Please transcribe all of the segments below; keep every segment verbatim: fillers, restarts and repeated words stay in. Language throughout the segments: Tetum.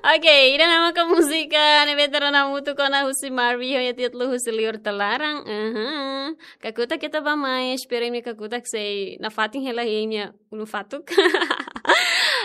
Oke, ida-ne'e maka múzika ne'ebé ita rona hamutuk ona husi Marvi, ho nia títulu husi Liur Tolarang. Aham. Kakutak ita bá mai, espera imi kakutak sei nafatin hela imi ulun fatuk.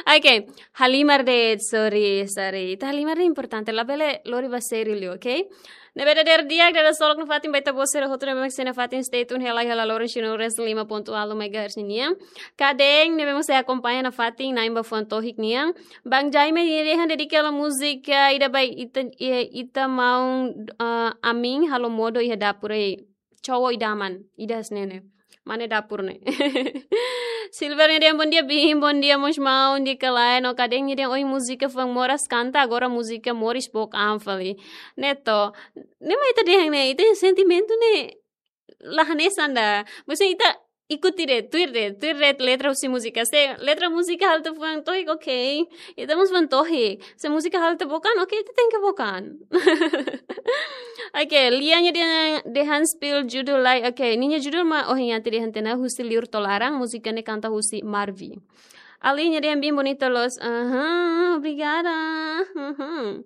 Oke, halimar de'it, sorry, sorry. Ita halimar de'it importante, labele lori ba sériu liu, oke? Ne'ebé dadeer di'ak, dadasolok nafatin ba ita-boot sira hotu ne'ebé mak sei nafatin, stay tune hela iha la loron cien e um resin lima ponto ualu megahertz ninian. Kadein ne'ebé mak sei akompaña nafatin na'in ba fuan tohik nian. Bang Jaime nia dehan dedika hela múzika ida ba ita, eh, ita maun, ah, amin halo modo iha dapur ei. Cowok idaman, ida hanesan ne'e. Mane dapur ne'e. Silver nia dehan bondia Bin, bondia mós maun, di'ak ka lae, no kadein nia dehan oi múzika fuan moras kanta, agora múzika moris book an fali. Neto, ne'e mak ita dehan ne'e, ita-nia sentimentu ne'e la hanesan ida. Maksudnya ita ikuti de'it, tuir de'it, tuir de'it letra husi múzika. Se letra múzika halo ita fuan tohik, oke. Ita mós fuan tohik. Se múzika halo ita book an, oke, ita tenke book an. Oke, Lia nia dehan, dehan spill judul lai. Oke, ninia judul mak, oh, nia dehan tiha ona husi Liur Tolarang, múzika ne'e kanta husi Marvi. Ali nia dehan Bin bonita loos. Aham, obrigada. Aham.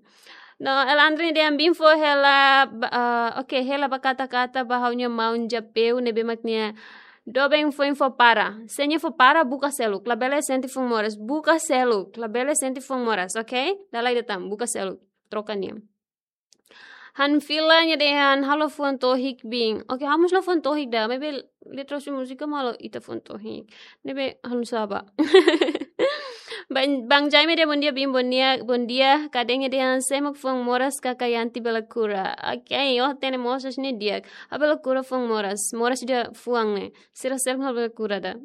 No, Elandri nia dehan Bin fó hela, ba-, ah, oke, hela ba kata-kata ba ha'u-nia maun Japeu ne'ebé mak nia doben foin fó para. Se nia fó para, buka seluk. Labele sente fuan moras. Buka seluk. Labele sente fuan moras, oke? Dala ida tan, buka seluk. Troka nia. Hanfila nia dehan halo fuan tohik Bin. Oke, ha'u mós la fuan tohik ida. Maibé letra husi múzika mak halo ita fuan tohik. Ne'ebé halo saba. Bang, Bang Jaime dehan bondia Bin, bondia, bondia. Kadein nia dehan sé mak fuan moras kaka Yanti bele kura. Oke, oh, hatene mosas ne'e di'ak. Ha'u bele kura fuan moras. Moras ida fuan ne'e. Sira seluk ha'u bele kura ida.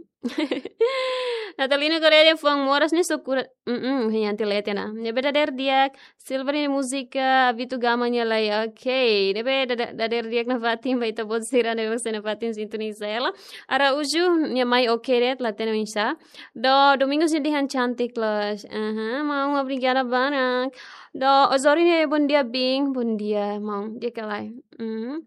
Natalina Correia dehan fuan moras ne'e só kura. Mm-mm, Yanti leten ona. Ne'ebé dadeer di'ak, Silver nia múzika, Vitu Gama nia lai, oke. Ne'ebé dada-, dadeer di'ak nafatin ba ita-boot sira ne'ebé mak sei nafatin sintoniza hela. Araújo nia mai oke de'it, la hatene oinsá. No, Domingos nia dehan cantik loos. Aham, maun, obrigada barak. No, Osório nia bondia Bin, bondia, maun, di'ak ka lae. Mhm.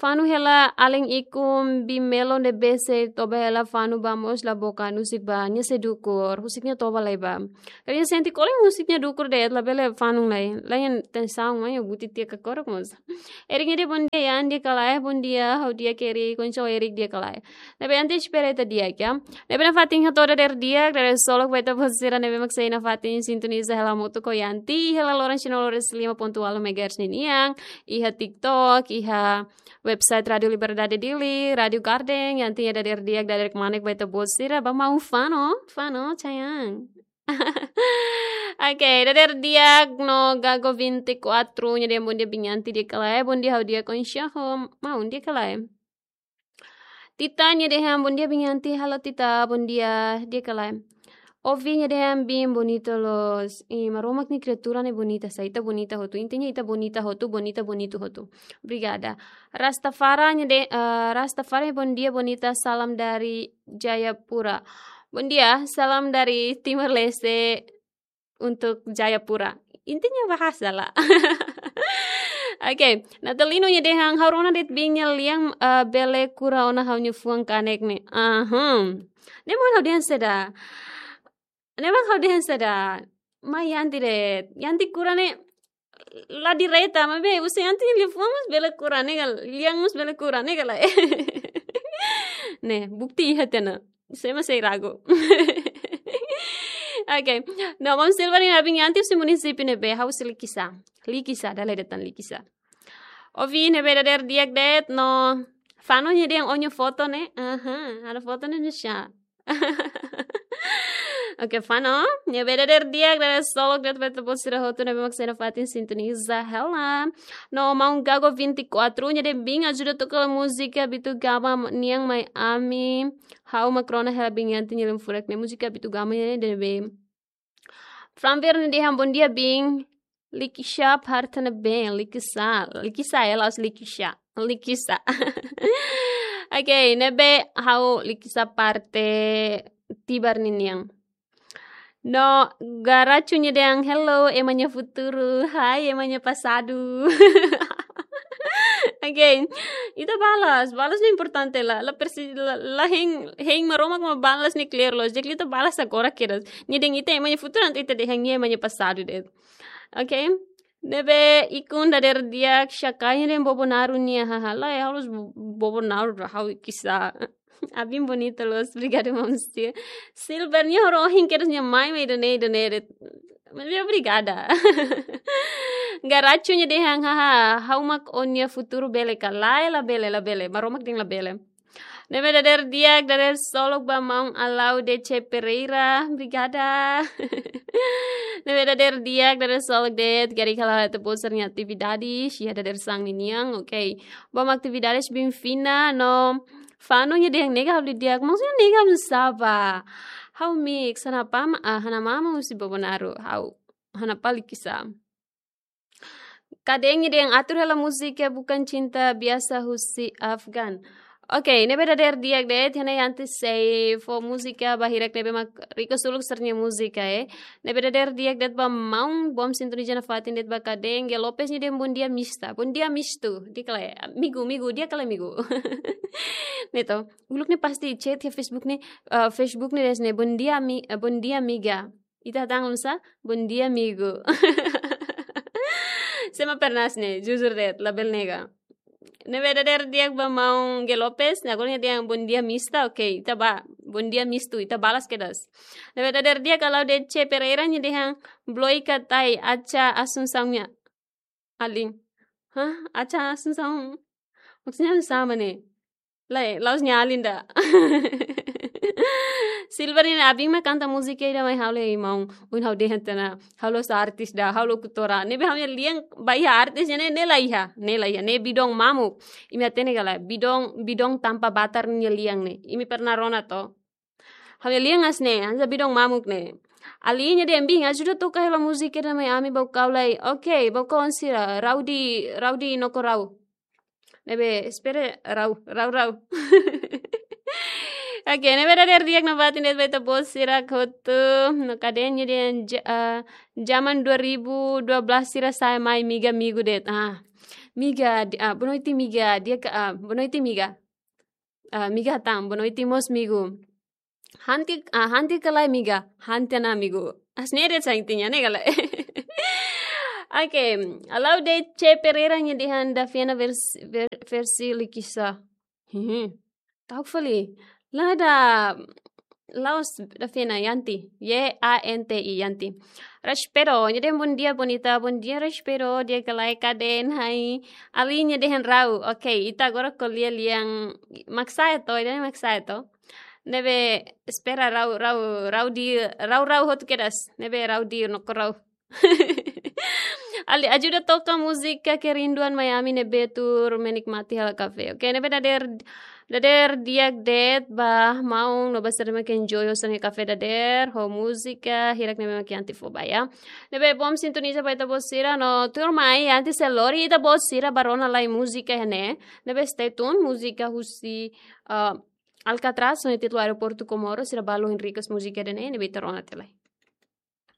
Fanu hela alin ikun Bin Melo ne'ebé sei toba hela fanu ba mós la book an, husik ba, nia sei dukur, husik nia toba lai ba. Karik nia sente kolen husik nia dukur de'it, labele fanu lai. Lain tensaun, mai buti tiha kakorok mós. Erik nia dehan bondia Yan, di'ak ka lae, bondia, ha'u di'ak Erik, kondisaun Erik di'ak ka lae. Ne'ebé ita espera ita di'ak, ya. Ne'ebé nafatin hato'o dadeer di'ak, dadasolok ba ita-boot sira ne'ebé mak sei nafatin sintoniza hela hamutuk ho Yanti, hela loron cien e um resin lima ponto ualu megahertz ninian, iha TikTok, iha website Rádio Liberdade Dili, Rádio Garden, Yanti nia dadeer di'ak, dadeer kmanek ba ita-boot sira, ba maun fanu, fanu, sayang. Oke, dadeer di'ak no Gago vinte e quatro, nia dehan bondia Bin Yanti di'ak ka lae, bondia ha'u di'ak kondisaun ho, maun di'ak ka lae. Tita nia dehan bondia Bin Yanti, halo Tita, bondia, di'ak ka lae. Ovi nia dehan Bin bonita loos. Ih, Maromak nia kriatura ne'e bonita, sa ita bonita hotu. Intinya ita bonita hotu, bonita, bonita hotu. Obrigada. Rastafara nia de-, eh, Rastafari bondia bonita, salam dari Jayapura. Bondia, salam dari Timor Leste untuk Jayapura. Intinya bahasa lah. Oke, Natalino nia dehan ha'u rona de'it Bin nia lian, eh, bele kura ona ha'u-nia fuan kanek ne'e. Aham. Ne'e mak ha'u dehan saida. Ne'e mak ha'u dehan saida. Mai Yanti de'it. Yanti kura ne'e la direta, maibé husi Yanti nia lian fuan mós bele kura ne'e ka, lian mós bele kura ne'e ka lae. Ne'e, bukti iha tiha ona. Sé mak sei ragu. Oke. No, maun Silva nia dehan Bin Yanti husi munisípiu ne'ebé, ha'u husi Likisá. Likisá, dala ida tan Likisá. Ovi ne'ebé dadeer di'ak de'it, no. Fanu nia dehan ó-nia foto ne'e. Aha, ha'u-nia foto ne'e nusá. Oke, Fanu, ne'ebé dadeer di'ak, dadasolok de'it ba ita-boot sira hotu ne'ebé mak sei nafatin sintoniza hela. No, maun Gago vinte e quatro nia dehan Bin ajuda toka hela múzika Vitu Gama nian mai ami. Ha'u mak rona hela Bin Yanti nia lian furak ne'e, múzika Vitu Gama nian ne'ebé. Fran Verne dehan bondia Bin. Likisá parte ne'ebé, Likisá, Likisá, eh, la'ós Likisá, Likisá. Oke, ne'ebé ha'u Likisá parte Tibar ninian. No, Garachu nia dehan hello, ema nia futuru, hai, ema nia pasadu. Oke, ita balas, balas ne'e importante lah, la persi-, la, la hein, hein Maromak mak balas ne'e klaru loos, jadi ita balas agora kedas. Nia dehan ita ema nia futuru, entaun ita dehan nia ema nia pasadu de'it. Ok? Ne'ebé ikun dadeer di'ak, Xakaiña dehan Bobonaro nian, haha. Lae, ha'u la'ós Bo-, Bobonaro, ha'u kisah. Abin bonita loos, obrigada, Mamsi. Silver nian, ha'u ohin kedas nia mai, mai ida-ne'e, ida-ne'e de'it. Mas obrigada. Garachu nia dehan, haha, ha'u mak ó-nia futuru bele ka? Lae, labele, labele. Maromak dehan labele. Ne'ebé dadeer di'ak, dadeer solok ba maun Alaude C Pereira. Obrigada. Ne'ebé dadeer di'ak, dadeer solok de'it, karik hala'o ita-boot sira-nia atividade, iha dadeer-saan ninian, ok. Bom atividades, Biin Fina, no Fano nia dehan nega halo di'ak, maksudnya nega halo sapa. Ha'u mix, hana pama, ah, hana mama husi Bobonaro, ha'u, hana pali kisah. Kadeen nia dehan atur hela múzika Bukan Cinta Biasa husi Afgan. Ok, ne'ebé dadeer di'ak de'it, hena Yanti sei fó múzika ba hirak ne'ebé mak request uluk sira-nia múzika, eh. Ne'ebé dadeer di'ak de'it ba maun, bom sintoniza nafatin de'it ba kadeen, Ge Lopes nia dehan bom dia mista. Bom dia mistu, di'ak ka lae, amigu, amigu, di'ak ka lae amigu. Ne'e to, uluk ne'e pasti chat iha Facebook ne'e, eh, Facebook ne'e dehan ne'e, bom dia mi-, eh, bom dia amiga. Ita hatán oinsá, bom dia amigu. Sé mak pernah hanesan ne'e, jujur de'it, labele nega. Ne'ebé dadeer di'ak ba maun Ge Lopes, ne'e agora nia dehan bom dia mista, ok, ita ba, bom dia mistu, ita balas kedas. Ne'ebé dadeer di'ak Alaude C Pereira nia dehan, bloika tai, Acha Assunção nia alin. Hah? Acha Assunção? Maksudnya sama ne'e. Lae, la'ós nia alin ida. Silver nia abin mak kanta múzika ida mai ha'u lae, maun. Ohin ha'u dehan tiha ona, ha'u la'ós artis ida, ha'u lokutora. Ne'ebé ha'u-nia lian ba iha artis ne'e, ne'e la iha, ne'e la iha, ne'e bidon mamuk. Imi hatene ka lae, bidon, bidon tanpa batar nia lian ne'e. Imi pernah rona to? Ha'u-nia lian hanesan ne'e, hanesan bidon mamuk ne'e. Alin nia dehan biin, ajuda toka hela múzika ida mai ami, Baucau lae. Ok, Baucau oan sira, Raudi, Raudi no Corau. Ne'ebé, espera, rau, rau, rau. Ok, ne'ebé dadeer di'ak nafatin de'it ba ita-boot sira hotu, no kadeen nia dehan ja-, ah, zaman dua ribu dua belas sira sa'e mai amiga amigu de'it. Ah, amiga, di-, ah, boa noite amiga, di'ak ka, ah, boa noite amiga. Ah, amiga hatán, boa noite mós amigu. Hanti, ah, hanti ka lae amiga, hanti ona amigu. Hanesan ne'e de'it sa intinya ne'e ka lae. Ok, Alaude C Pereira nia dehan Dafiana vers-, ver-, versi Likisá. Hmm. Ta'uk fali. La'ós, la'ós Dafiana, Yanti. Y A N T I, Yanti. Raspedo nia dehan bom dia bonita, bom dia Raspedo, di'ak ka lae kadeen, hai. Alin nia dehan rau. Ok, ita agora ko'alia lian mak sa'e to, ida-ne'e mak sa'e to. Ne'ebé espera rau, rau, rau di, rau, rau hotu kedas. Ne'ebé rau di no Corau. Ali, ajuda toka múzika Kerinduan mai ami ne'ebé tuur menikmati hela kafé. Ok, ne'ebé dadeer, dadeer di'ak de'it ba maun no ba sira mak enjoy sira-nia kafé dadeer ho múzika hirak ne'ebé mak Yanti fó ba, ya. Ne'ebé bom sintoniza ba ita-boot sira no tuirmai Yanti sei lori ita-boot sira ba rona lai múzika iha ne'e. Ne'ebé stay tune, múzika husi, ah, Alcatraz, ho nia títulu Aeroportu Comoro, sira balu hein request múzika ida-ne'e, ne'ebé ita rona tiha lai.